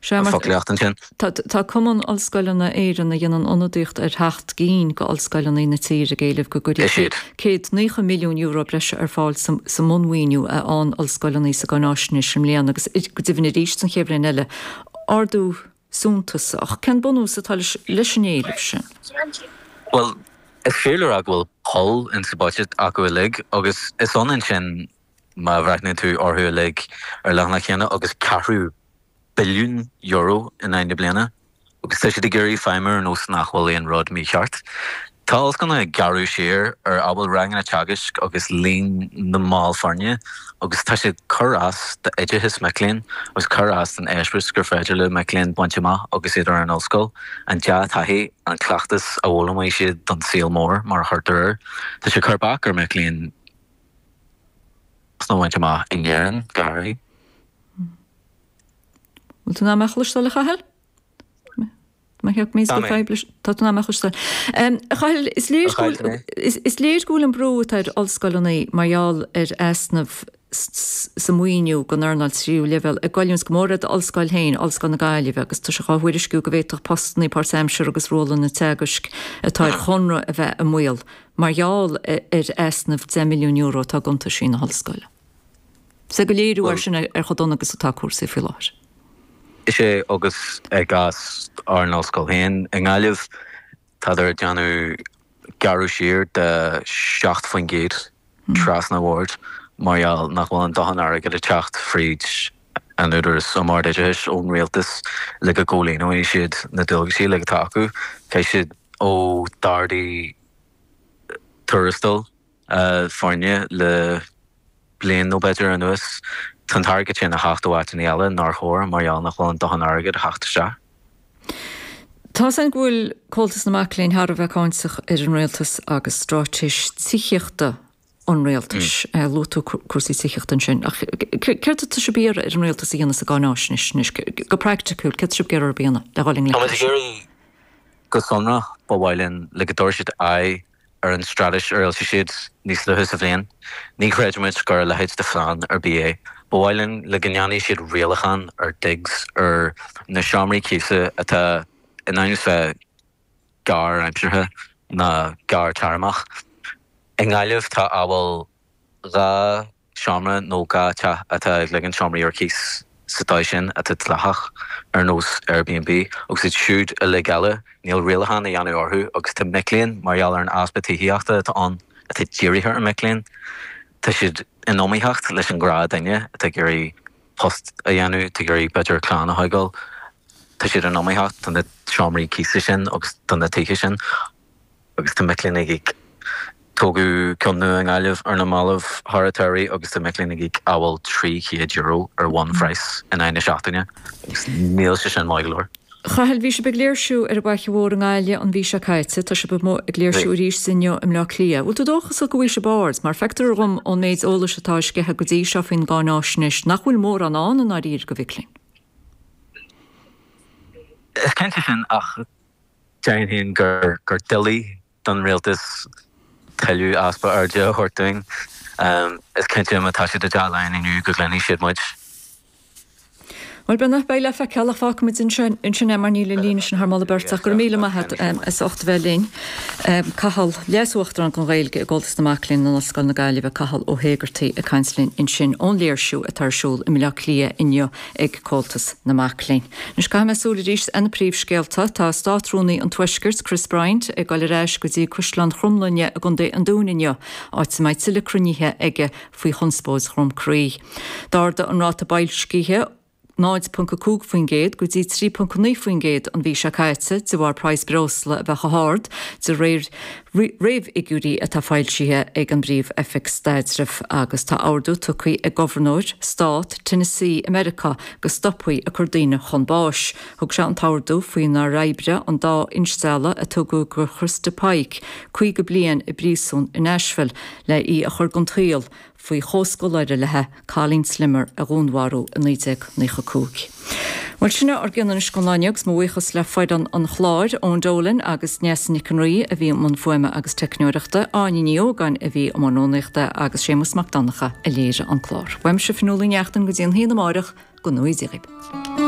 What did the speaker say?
Sea, mar foclaíocht ansin. tá Cumann Ollscoileanna Éireann a dhéanann ionadaíocht ar sheacht gcinn d'ollscoileanna na tíre ag éileamh go gcuirfí €190 milliún breise ar fáil sa mbunmhaoiniú a fhaigheann ollscoileanna sa gcáináisnéis i mbliana agus go deimhin arís don chéad bhliain eile. Ardú suntasach. Cén bunús atá leis an éileamh sin? Bhuel, is fíor le rá go bhfuil poll in sa bhuiséad acu uilig agus is ionann sin, má bhreathnaíonn tú orthu uilig ar leathanach chéanna, agus ceathrú billiún euro in aghaidh na bliana agus tá siad ag iarraidh feidhmiú ar nós nach bhfuil aon rud mícheart. Tá ollscoileanna ag gearradh siar ar amhail ranganna teagaisc agus líon na mball foirne agus tá sé ag cur as d'oideachas mic léinn agus cur as don eispéireas gur féidir le mic léinn baint amach agus iad ar an ollscoil, an dea-taithí, an cleachtas a fhoghlaimeoidh siad don saol mór mar a chuirtear air. Tá sé ag cur bac ar mic léinn post a bhaint amach in Éirinn go háirithe. Bhfuil tú in ann mé a chloisteáil a Chathail? Má theacht mé go fadhb leis tá tú in ann mé a chloisteáil. A Chathail, is léir go bhfuil is léir go bhfuil an brú atá ar ollscoileanna mar gheall ar easnamh sa mhaoiniú don earnáil tríú leibhéal ag goilliúint go mór ar d'ollscoil féin, Ollscoil na Gaillimhe, agus tá sé á thuairisciú go bhféadfadh postanna páirtaimseartha agus rólanna teagaisc atá ar chonradh a bheith i mbaol mar gheall ar easnamh €10 milliún atá i gcuntaisí na hollscoile. Is é gur léiriú é sin ar chomh dona agus atá cúrsaí faoi láthair. Is é agus i gcás ár n-ollscoil féin i nGaillimh, tádar ag déanamh gearradh siar de 7% trasna an bhoird mar gheall nach bhfuil an dóthain airgid ag teacht fríd an Údarás um Ard-Oideachais ón Rialtas le go gcomhlíonfaidh siad na dualgaisí uilig atá acu. Caithfidh siad ó d'ardaigh tuarastail foirne le bliain nó b'fhéidir anuas. Tá an t-airgead sin a theacht ó áiteanna eile nár chóir mar gheall nach bhfuil an dóthain airgid a theacht isteach. Tá 's againn go bhfuil Comhaltas na Mac Léinn thar a bheith cáinteach ar an Rialtas agus straitéis tithíochta an Rialtais. Luaigh tú cúrsaí tithíochta ansin. Ach céard atá sibh ag iarraidh ar an Rialtas a dhéanamh sa gcáináisnéis anois? Go praiticiúil, céard atá sibh ag iarraidh orthu a dhéanamh le dhul i ngleic leis? Táimid ag iarraidh go sonrach, ba mhaith linn le go dtabharfaidh siad aghaidh ar an straitéis a fhoilsigh siad níos luaithe sa bhliain. Ní chreidimid gur a leithéid de phlean ar bith é. Ba mhaith linn le go ndéanfaidh siad rialachán ar digs, ar na seomraí cíosa atá in ainm is bheith gearr-aimseartha ná gearr-téarmach. I nGaillimh tá amhail 2 seomra nó 2 teach atá ag ligean seomraí ar cíos sa dóigh sin atá dleathach, ar nós Airbnb, agus iad siúd uilig eile, níl rialachán á dhéanamh orthu agus tá mic léinn, mar gheall ar an easpa tithíochta atá ann atá dírithe ar mhic léinn, tá siad in iomaíocht leis an ghnáthduine atá ag iarraidh post a dhéanamh, atá ag iarraidh b'fhéidir clann a thógáil, tá siad in iomaíocht do na seomraí cíosa sin agus do na tithe sin. Agus tá mic léinn ag íoc. Tógadh ceann nua i nGaillimh ar na mallaibh thar an tsamhraidh agus tá mic léinn ag íoc amhail €300 ar bhunphraghas in aghaidh na seachtaine agus níl sé sin maith go leor. Chathail, bhí sibh ag léirsiú ar an bhFaiche Mhór i nGaillimh an mhí seo caite. Tá sibh amuigh ag léirsiú arís inniu i mBleá Cliath. Bhfuil tú dóchasach go bhfaighidh sibh aird? Mar feictear dhom ón méid eolais atá á sceitheadh go dtí seo faoin gcáináisnéis nach bhfuil mórán ann i ndáiríre do mhic léinn. Is cinnte sin ach Déarfainn féin gur doiligh don rialtas tuilleadh easpa airde a thabhairt dúinn. Is cinnte má tá siad i dTeach Laighean inniu go gcluinfidh siad muid. Bhuel, beidh, beidh le feiceáil ach fágfaimid ansin é mar níl an líne sin thar moladh beirte ach go raibh míle maith agat as ucht a bheith linn. Cathal, Leas-Uachtarán don Ghaeilge i gComhaltas na Mac Léinn in Ollscoil na Gaillimhe, Cathal Ó hÉigeartaigh ag caint linn ansin ón léirsiú atá ar siúl i mBleá Cliath inniu ag Comhaltas na Mac Léinn. Anois caithfidh mé súil arís ar na príomhscéalta. Tá Státrúnaí an Tuaiscirt, Chris Bryant, ag dul ar ais go dtí Caisleán Chromghlinne i gContae an Dúin inniu, áit a mbeidh tuilleadh cruinnithe aige faoi chonspóid Dhrom Craí. D'ardaigh an ráta boilscithe 0.5% go dtí 3.9% an mhí seo caite de bharr praghas breosla a bheith chomh hard, de réir réamhfhigiúirí atá foilsithe ag an bPríomh-Oifig Staidrimh agus tá ordú tugtha ag Gobharnóir Stát Tennessee i Meiriceá go stopfaí ag cur daoine chun báis. Thug sé an t-ordú faoinar oibrigh an dá instealladh a tugadh do Christa Pike 50 bliain i bpríosún i Nashville le í a chur den tsaol faoi chomhscoláire léi, Colleen Slimmer, a dhúnmharú i 1995. Bhuel, sin é ár gcion anois don lá inniu agus mo bhuíochas le foireann an chláir, Eoin Dolan agus Neasa Nic an Rí a bhí i mbun fuaime agus teicneoireachta, Áine Ní Ógáin a bhí i mbun rúnaíochta agus Séamus Mac Donncha a léirigh an clár. Uaimse Fionnuala Ní Neachtain go dtí an haon amáireach, go ngnóthaí Dia dhaoibh.